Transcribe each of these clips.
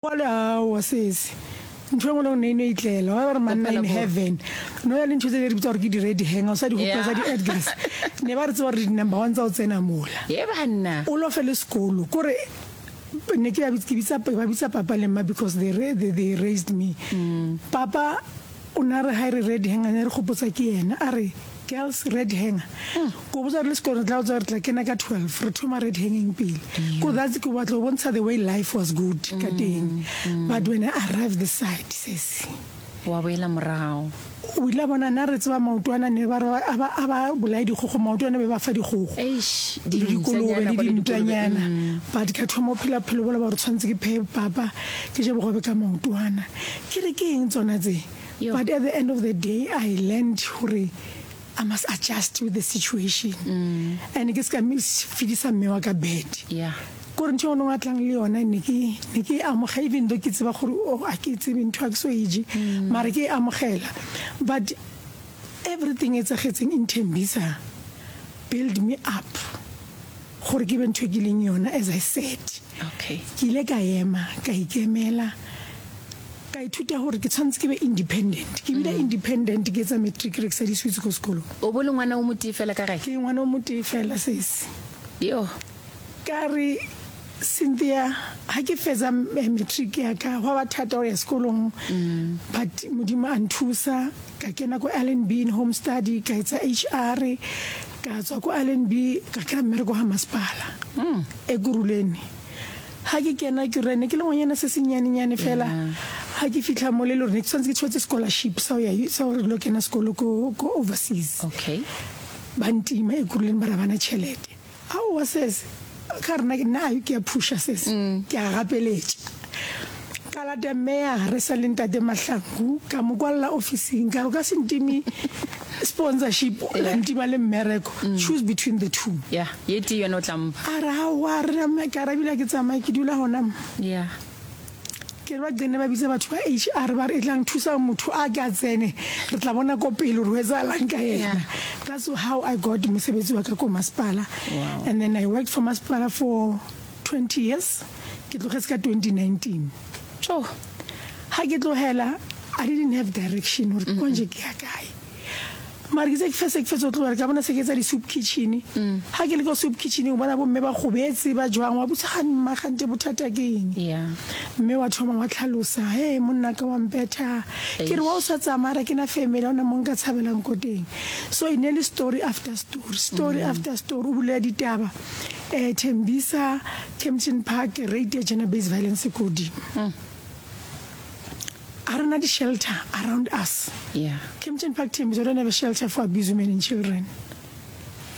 Bjale aowa sesi, ntho e nngwe le nngwe ne e no itlela. Wa ba re manna in heaven. No ya le ntho tse ne re bitsa gore ke di-red hanger, o sa di gopola tsa di-Edgars. Ne ba re tseba gore di-number one tsa go tsena mola. Ye banna. O lofe le sekolo. Kore ne ke ba ke bitsa ba bitsa papa le mma because they they, they raised me. Papa o ne a re ha e re red hanger ne re gopotsa ke yena a re Girls red hanger. Ko botsa re le sekolo re tla botsa re tla kena ka 12 re thoma red hanging pele. Ko that's ke batla go bontsha the way life was good ka teng. But when I arrived this side sesi. Wa boela morago. O ile a bona nna re tseba maotwana ne ba re a ba a ba bolaye dikgogo maotwana be ba fa dikgogo. Eish Le dikolobe le dintanyana. But ka thoma go phela bophelo bola ba gore tshwanetse ke pheye papa ke je bogobe ka maotwana. Ke re ke eng tsona tse? But at the end of the day I learned gore I must adjust with the situation mm. and ke se ka fedisa mme wa ka bed yeah kore ntho e ngwe a tlang le yona ne ke ne ke amogela even though ke tseba gore oh a ke tsebe ntho a ke so e je mm. mara ke e amogela but everything e tsagetseng in Tembisa build me up gore ke be ntho e ke leng yona as I said okay ke ile ka ema ka ikemela Ka ithuta gore ke tshwanetse ke be independent. Ke bile independent ke etsa matric re ke sa di-sweets ko sekolong. O bo le ngwana o motee fela ka gae? Ke ngwana o motee fela sesi. Yoh. Ka re, Cynthia, ha ke fetsa matric ya ka, gwa ba thata go ya sekolong, but Modimo a nthusa, ka kena ko LNB in home study, ka etsa HR, ka tswa ko LNB, ka kry-a mmereko ga masepala, Ekurhuleni. Ga ke kena ke re ne ke le ngwanyana se sennyane-nyane fela ga ke fitlha mo le le gore ne ke tshwanetse ke tshwetse scholarship sa go ya sa gore lo kena sekolo ko ko overseas. Okay. Ba ntima Ekurhuleni ba re ga bana tšhelete. Aowa sese ka re nna nna ke a phusha sese ke a gapeletša. Ka lata mayor re sa le ntate Mahlangu ka mo kwalela ofising ka re o ka se ntime sponsorship la ntima le mmereko choose between the two. Yeah. Ye tee yona o tla mpha. A re, Aowa, re na, ka re ebile ga ke tsamaye, ke dula gona mo. Yeah. Ke re ba qene ba bitse batho ba HR ba re, Etlang thusang motho a ke a tsene, re tla bona ko pele gore ho etsahalang ka yena. Yeah. That's how I got mosebetsi wa ka ko masepala. Wow. And then I worked for masepala for 20 years. Ke tlogetse ka 2019. Tjo. Ha ke tlogela, I didn't have direction gore konje ke ya kae. Mara ke tse ke fetse ke fetsa go tlogela ka bona se ke etsa di-soup kitchen. Ga ke le ko soup kitchen o bona bomme ba gobetse ba jwang wa botsa ga mma gante bothata ke eng. Mme wa thoma wa tlhalosa he monna ka wa mpetha ke re wa o sa tsamaya ra ke na family ha ona mo nka tshabelang ko teng. So e ne le story after story, story after story o bulela ditaba eh Thembisa, Kempton Park rate ya gender based violence e ko godimo. A re na di-shelter around us. Yeah. Kempton Park Tembisa, we don't have a shelter for abused women and children.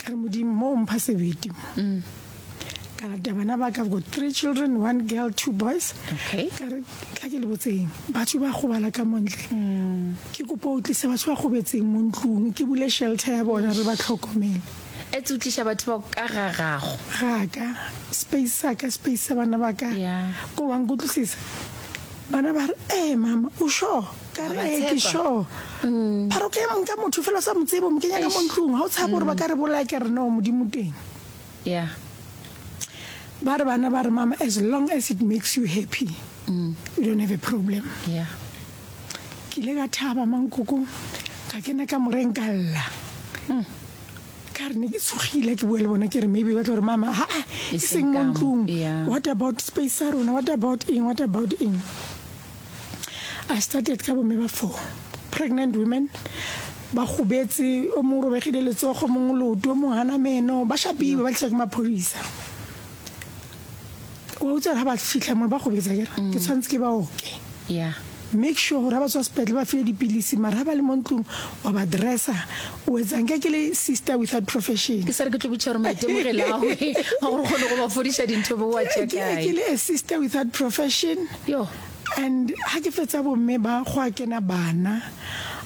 Ka re Modimo, mo o mpha sebete mo. Mm. Ka lata bana ba ka, I've got three children, one girl, two boys. Okay. Ka re, tla ke le botseng, batho ba gobala ka montle. Mm. Ke kopa o tlise batho ba gobetseng mo ntlong, ke bule shelter ya bona re ba tlhokomele. Etse o tliša batho bao ka ga gago. Ga ka, space sa ka, space sa bana ba ka. Yeah. Ko wa nkutlwisisa? Bana ba re, Ee, mama, o sure? Ka re, Ee, ke sure. Ba re, Okay, nka motho fela o sa mo tsebe, o mo kenya ka mo ntlong, ga o tshabe gore ba ka re bolaya? Ke re, No, Modimo teng. Yeah. Ba re bana ba re, Mama, as long as it makes you happy, we don't have a problem. Yeah. Ke ile ka thaba, mankoko, ka kena kamoreng ka lla. Ka re ne ke tshogile ke bua le bona ke re maybe ba tlo re mama ha e seng mo ntlong what about space sa rona what about eng what about eng I started ka bomme ba four pregnant women ba gobetse o mongwe robegile letsogo mongwe leoto o mongwe gana meno ba shapiwe ba tlisa ke maphodisa wa utlwa ga ba fitlha mo ba gobetsa kere ke tshwanetse ke ba oke yeah make sure gore ga ba tswa sepetlele ba file dipilisi mara ga ba le mo ntlong wa ba dressa o etsang ka ke le sister without profession ke sa re ke tlo botša gore maitemogelo a gwe a gore kgone go ba fodiša dintho bo wa tšea kae ke le a sister without profession yo and ga ke fetsa bomme ba go a kena bana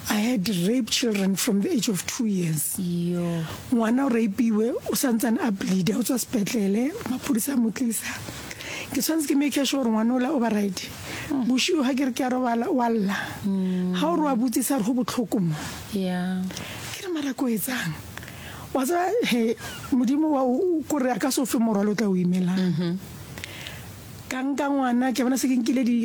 I had raped children from the age of 2 years. Yo. Ngwana o rapiwe o santsane a bleeda o tswa sepetlele maphodisa a mo tlisa. Ke tshwanetse ke make sure gore ngwana ola o ba right. Bošego ga ke re ke a robala wa lla. Ga o re wa botsisa re go botlhoko mo. Yeah. Ke re mara ko etsang. Wa tseba he Modimo wa o kore a ka se o fe morwalo o tla o imelang. Ka nka ngwana, ke bona se ke nkile di.